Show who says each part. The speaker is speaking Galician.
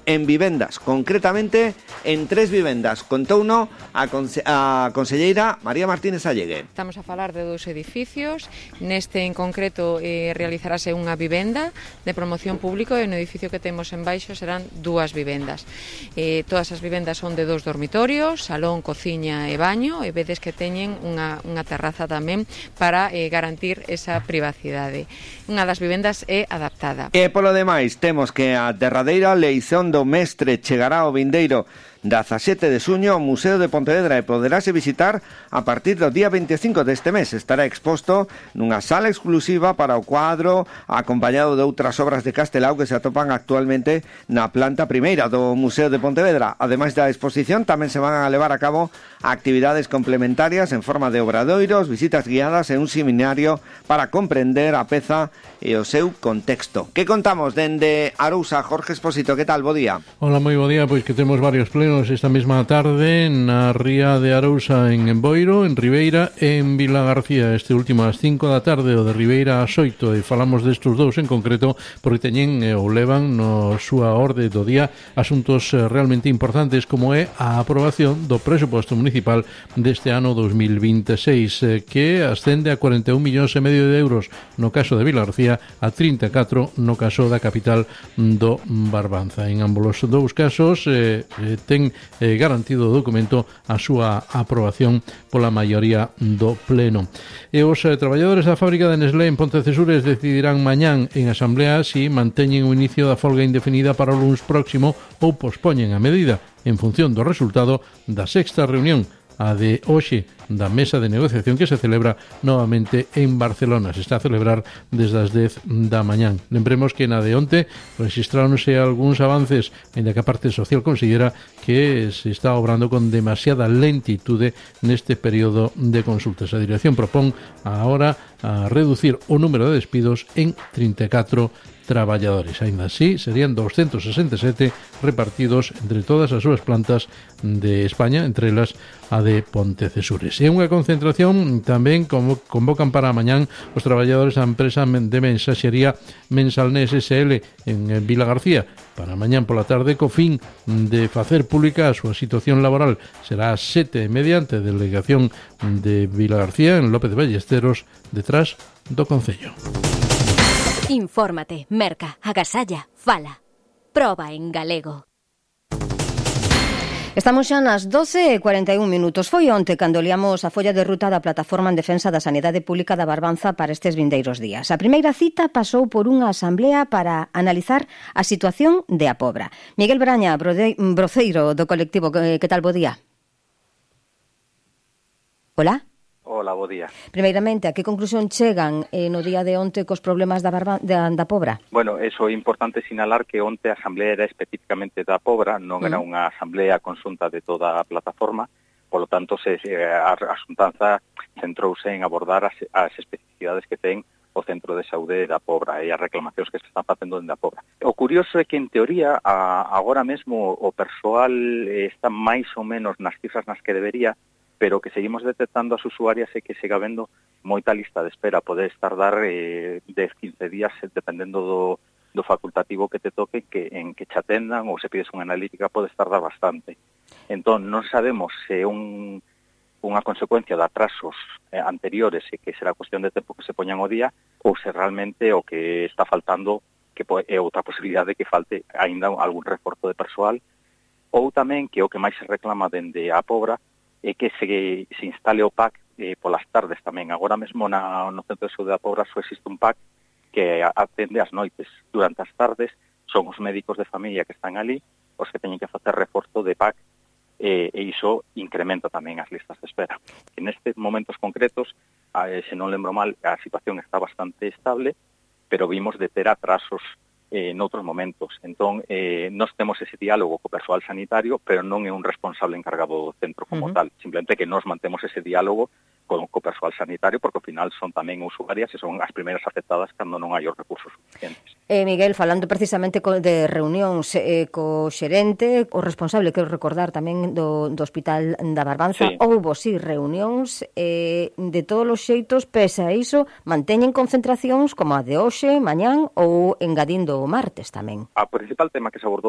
Speaker 1: en vivendas, concretamente en 3 vivendas. Contouno a conselleira María Martínez Allegue.
Speaker 2: Estamos a falar de 2 edificios. Neste en concreto realizarase unha vivenda de promoción público e no edificio que temos en baixo serán 2 vivendas. Todas as vivendas son de 2 dormitorios, salón, cociña e baño, e vedes que teñen unha terraza tamén para garantir esa privacidade. Unha das vivendas é adaptada.
Speaker 1: E polo demais, temos que a derradeira leición do mestre chegará ao vindeiro 17 de xuño ao Museo de Pontevedra e poderase visitar a partir do día 25 deste mes. Estará exposto nunha sala exclusiva para o cuadro, acompañado de outras obras de Castelao que se atopan actualmente na planta primeira do Museo de Pontevedra. Ademais da exposición, tamén se van a levar a cabo actividades complementarias en forma de obradoiros, visitas guiadas e un seminario para comprender a peza e o seu contexto. Que contamos dende Arousa? Jorge Expósito, que tal? Bo día.
Speaker 3: Hola, moi bo día, pois que temos varios plenos esta mesma tarde na ría de Arousa en Boiro, en Ribeira e en Vila García. Este último ás 5 da tarde, o de Ribeira ás 8, e falamos destes 2 en concreto porque teñen ou levan no súa orde do día asuntos realmente importantes, como é a aprobación do presuposto municipal deste ano 2026, que ascende a 41,5 millóns de euros no caso de Vila García, a 34 no caso da capital do Barbanza. En ambos os 2 casos ten garantido o documento a súa aprobación pola maioría do pleno. E os traballadores da fábrica de Nestlé en Pontecesures decidirán mañán en asamblea si manteñen o inicio da folga indefinida para o luns próximo ou pospoñen a medida en función do resultado da 6ª reunión, a de hoxe, da mesa de negociación que se celebra novamente en Barcelona. Se está a celebrar desde as 10 da mañán. Lembremos que na de onte registraronse algúns avances, ainda que a parte social considera que se está obrando con demasiada lentitude neste período de consultas. A dirección propón agora a reducir o número de despidos en 34 traballadores. Ainda así, serían 267 repartidos entre todas as súas plantas de España, entre elas a de Pontecesures. E unha concentración tamén convocan para mañán os traballadores da empresa de mensaxería Mensalnés SL en Vila García. Para mañán pola tarde, co fin de facer pública a súa situación laboral. Será a 7:30 ante a delegación de Vila García en López de Ballesteros, detrás do Concello.
Speaker 4: Infórmate, merca, agasalla, fala. Proba en galego.
Speaker 5: Estamos xa nas 12:41. Foi onte cando liamos a folla de ruta da Plataforma en Defensa da Sanidade Pública da Barbanza para estes vindeiros días. A primeira cita pasou por unha asamblea para analizar a situación de A Pobra. Miguel Braña, broceiro do colectivo, que tal, bo día? Hola?
Speaker 6: Hola, bo día.
Speaker 5: Primeiramente, a que conclusión chegan no día de onte cos problemas da Pobra?
Speaker 6: Bueno, eso é importante sinalar que onte a asamblea era especificamente da Pobra, non era unha asamblea conxunta de toda a plataforma, polo tanto a xuntanza centrouse en abordar as especificidades que ten o Centro de Saúde da Pobra e as reclamacións que se están facendo dende a Pobra. O curioso é que, en teoría, agora mesmo o persoal está máis ou menos nas cifras nas que debería, pero que seguimos detectando as usuarias e que siga habendo moita lista de espera. Pode tardar 10-15 días, dependendo do facultativo que te toque, en que te atendan, ou se pides unha analítica, podes tardar bastante. Entón, non sabemos se unha consecuencia de atrasos anteriores e que será cuestión de tempo que se poñan o día, ou se realmente o que está faltando que é outra posibilidade de que falte aínda algún reforzo de persoal, ou tamén que o que máis se reclama dende a Pobra é que se instale o PAC polas tardes tamén. Agora mesmo no Centro de Saúde da Pobra só existe un PAC que atende as noites. Durante as tardes son os médicos de familia que están ali os que teñen que facer reforzo de PAC e iso incrementa tamén as listas de espera. En estes momentos concretos, se non lembro mal, a situación está bastante estable, pero vimos de ter atrasos noutros momentos. Entón, nós temos ese diálogo co persoal sanitario, pero non é un responsable encargado do centro como tal. Simplemente que nós mantemos ese diálogo co persoal sanitario, porque ao final son tamén usuarias e son as primeiras afectadas cando non hai os recursos suficientes.
Speaker 5: Miguel, falando precisamente de reunións co xerente, o responsable, quero recordar tamén do Hospital da Barbanza,
Speaker 6: sí.
Speaker 5: Houbo reunións, de todos os xeitos, pese a iso, manteñen concentracións como a de hoxe, mañán ou engadindo o martes tamén.
Speaker 6: O principal tema que se abordou